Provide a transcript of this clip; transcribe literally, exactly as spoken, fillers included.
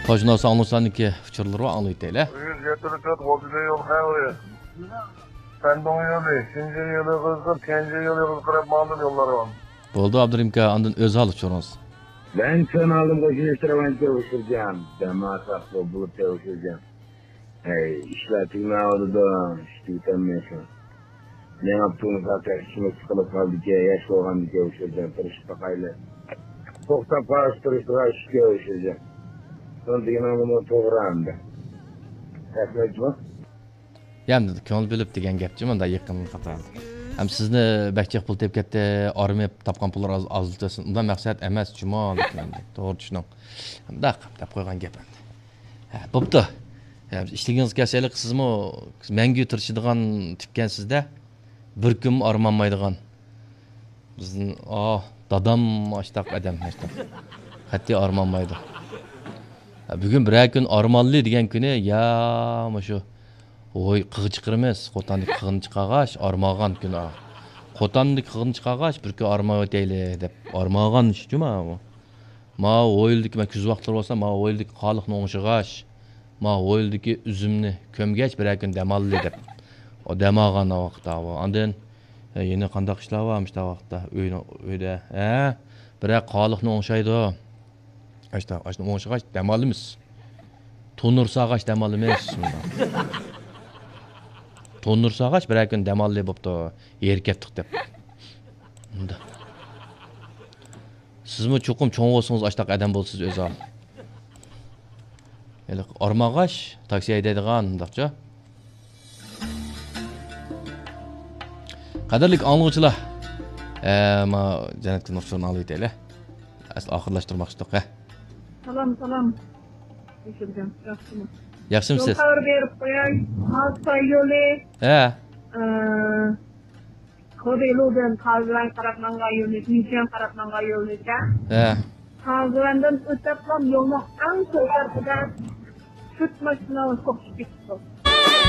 قوشنا ئاڭلىغۇچىلارنىڭكى ئۇچۇرلىرى بار، ئاڭلىۋېتەيلى. يۈز يەتتە تۆت غوجىدە يول خەۋىرى. سەندۇڭ يولى، شىنجېن يولى قىزىل، تيەنجىن يولى قىزىل قاراپ ماڭدىم يوللار بار. بولدى، ئابدۇرېھىم ئاكا، ئاندىن ئۆز ھال ئۇچۇرىڭىز. مەن سەن ئالدىم قوشۇن ئىشتىراۋان تەۋشۈرجەم. دەماساق بولۇپ تەۋشۈرجەم. ھەي، ئىشلار تۈگىمەيۋاتىدۇ، ئىش تۈگىتەلمەيسەن. مېڭىپ تۇرمىسا تەكشىمۇ سىقىلىپ قالدىكەن، ياش بولغاندىكەن ئۇ شۇ يەردە تىرىشىپ باقايلى. توختاپ قالسا تىرىشىدىغان ئىشكەن ئۇ شۇ يەردە. سەن دېگىنىڭ نېمە توغرا ئەمدى. رەھمەتمۇ؟ يا ئەمدى كۆڭۈل بۆلۈپ دېگەن گەپچۇ مۇنداق يېقىن قاتار. ھەم سىزنى بەك جىق پۇل تېپىپ كەتتى، ئارمىيە تاپقان پۇللار ئاز، ئازلىتىلسۇن. ئۇنداق مەقسەت ئەمەس جۇمۇ، لېكىن ئەمدى توغرا چۈشىنىڭ. مۇنداق دەپ قويغان گەپ ئەمدى. ھە، بوپتۇ. ھە، ئىشلىكىڭىزگە كەلسەيلى، سىزمۇ مەڭگۈ تىرىشىدىغان تىپكەنسىز-دە. بىر كۈنمۇ ئارمانمايدىغان. بىزنىڭ، ئاھ، دادام ئاشتاق ئادەم، ئاشتاق. قەتئىي ئارمانمايدۇ. ھە، بۈگۈن بىرەر كۈن ئارمانلى دېگەن كۈنى، يا مۇشۇ، ھوي، قىغ چىقىرىمىز. قوتاندىكى قىغنى چىقارغاچ، ئارمانغان كۈن، ئا. قوتاندىكى قىغنى چىقارغاچ، بىر كۈن ئارمانۋېتەيلى دەپ ئارمانغان ئىش جۇما بۇ. ماۋۇ ھويلىدىكى، مەن كۈز ۋاقىتلىرى بولسا، ماۋۇ ھويلىدىكى قالىقنى ئوڭشىغاچ، ماۋۇ ھويلىدىكى ئۈزۈمنى كۆمگەچ، بىرەر كۈن دەم ئالىلى دەپ، ئۇ دەم ئالغان ۋاقىت ئاۋۇ. ئاندىن، ئە، يەنە قانداق ئىشلار بار مۇشۇنداق ۋاقىتتا؟ ئۆينىڭ، ئۆيدە، ھە؟ بىرەر قالىقنى ئوڭشايدۇ. ئاشتا، ئاشتا ئوڭشىغاچ دەم ئالىمىز. تونۇر ساغاچ دەم ئالىمىز. تونۇر ساغاچ بىرەر كۈن دەم ئالىلى بوپتۇ. يېرى كەتتۇق دەپ. مۇنداق. سىزمۇ چوقۇم چوڭ بولسىڭىز ئاشتاق ئادەم بولىسىز ئۆزى. ھېلىقى ئارمانغاچ، تاكسى ھەيدەيدىغان مۇنداقچۇ. قەدىرلىك ئاڭلىغۇچىلار، ئە، ما جەننەتكە نۇر چوڭ ئاڭلىۋېتەيلى. ئەسلى ئاخىرلاشتۇرماقچىدۇق، ھە. سالام، سالام. ياخشىمۇ؟ ياخشىمۇسىز؟ يول خەۋىرى بېرىپ قوياي. مالتاي يولى. ھە. ئە، خېبېيلۇدىن تازىۋەن قاراپ ماڭغان يولنى، دىنچيەن قاراپ ماڭغان يولنى دە. ھە. تازىۋەندىن ئۆتەپلا يولنىڭ ئەڭ سول تەرىپىدە تۆت ماشىنا توختىتىپ كېتىپتۇ.